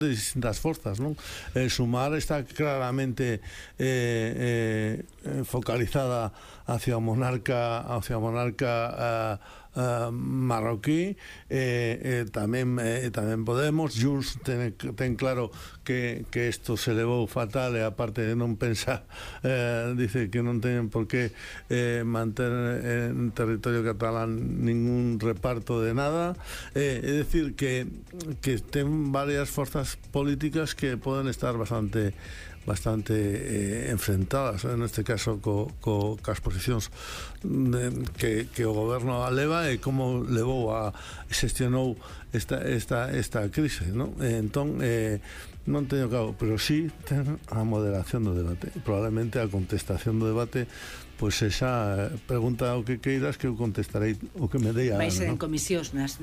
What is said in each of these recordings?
de distintas forzas, non? Sumar está claramente focalizada hacia o monarca marroquí, tamén Podemos. Junts ten claro que isto se levou fatal, e aparte de non pensar, dice que non teñen por que manter en territorio catalán ningún reparto de nada, é dicir que ten varias forzas políticas que poden estar bastante enfrentadas, en este caso cas posicións que o goberno leva e como levou xestionou esta crise, non? Entón non teño claro, pero sí ten a moderación do debate, probablemente a contestación do debate, pois esa pregunta o que queiras que eu contestarei o que me dei a vai ser en comisións, nas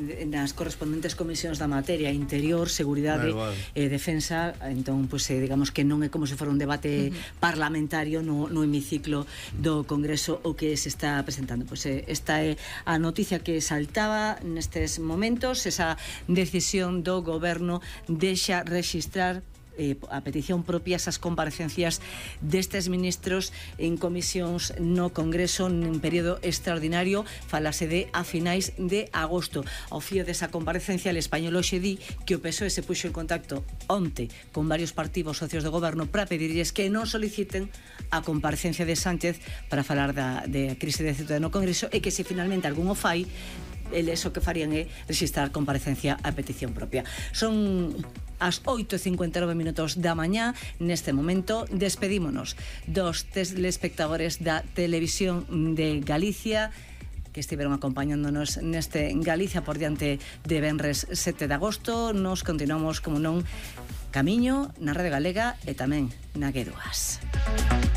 correspondentes comisións da materia, interior, seguridade e defensa. Entón, digamos que non é como se fora un debate parlamentario no hemiciclo do Congreso o que se está presentando. Esta é a noticia que saltaba nestes momentos, esa decisión do goberno deixa registrar a petición propia esas comparecencias destes ministros en comisións no Congreso en período extraordinario. Falase de a finais de agosto. Ao fío desa comparecencia, el Español hoxe di que o PSOE se puxo en contacto onte con varios partidos socios do goberno para pedirlles que non soliciten a comparecencia de Sánchez para falar da crise de Ceuta no Congreso, e que se finalmente algún o fai, eles o que farían é registrar comparecencia a petición propia. Son as 8:59 da mañá. Neste momento despedímonos dos telespectadores da Televisión de Galicia que estiveron acompañándonos neste Galicia por diante de venres 7 de agosto. Nos continuamos, como non, camiño na Rede Galega e tamén na G2.